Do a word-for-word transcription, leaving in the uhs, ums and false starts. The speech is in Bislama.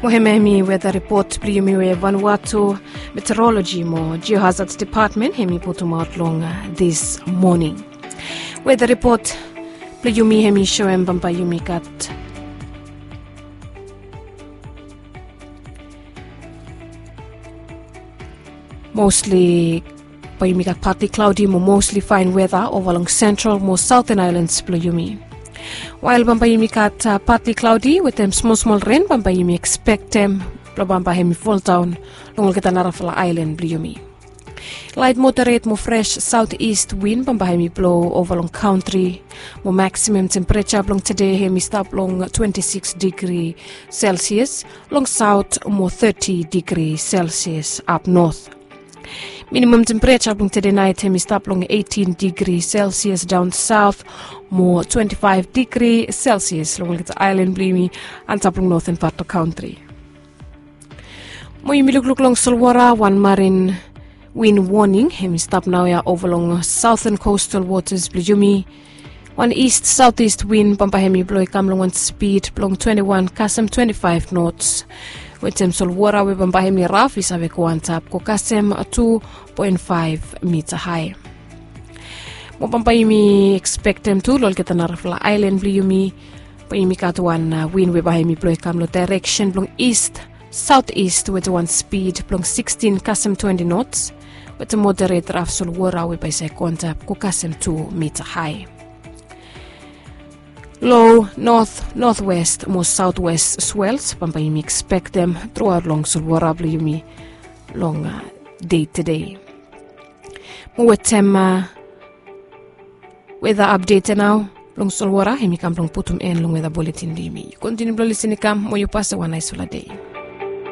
Mo hemia hemi weda ripot blong yumi we Vanuatu Meteorology mo Geohazard Department hemi putumaot long dis moning. Weda ripot blong yumi hemi soem bambae yumi gat mostli bae yumi gat partly cloudy mo mostli faen weda ova long sentral mo saoten aelans blong yumi. Wael bambae yumi gat partly cloudy wetem smol smol ren bambae yumi ekspektem blong bambae hemi foldaon long olgeta narafala aelan blong yumi. Laet moderet mo fres saotis win bambae hemi blo ova long kantri mo maksimam tempereja blong tede hemi stap long twenti sikis digri selsias long saot mo teti digri selsias apnot. Minimam tempereja blong tede naet hemi stap long eitin digri selsias daon saot mo twenti faef digri selsias long olgeta aelan blong yumi antap long noten pat blong kantri. Mo yumi lukluk long solwara, wan marin win woning hemi stap naoia ova long saoten kostal wotas blong yumi. Wan ist saotis win bambae hemi blo i kam long wan spid blong twenti wan kasem twenti faef nots wetem solwara we bambae hemi raf i save go antap go kasem tu poen faef mita hae. Mo bambae yumi ekspektem tu long olgeta narafala aelan blong yumi bae yumi gat wan win we bae hemi blo i kam long daereksen blong ist saotis wetem wan spid blong sikstin kasem twenti nots wetem moderet raf solwara we bae i save go antap go kasem tu mita hae. Lo not notwest mo saotwest swels bambae yumi ekspektem truaot long solwara blong yumi long dei tede. Mo wetem weda apdet ya nao blong solwara hemi kam blong putum en long weda buletin blong yumi. Yu kontiniu blong lisin i kam mo yu pasem wan naesfala dei.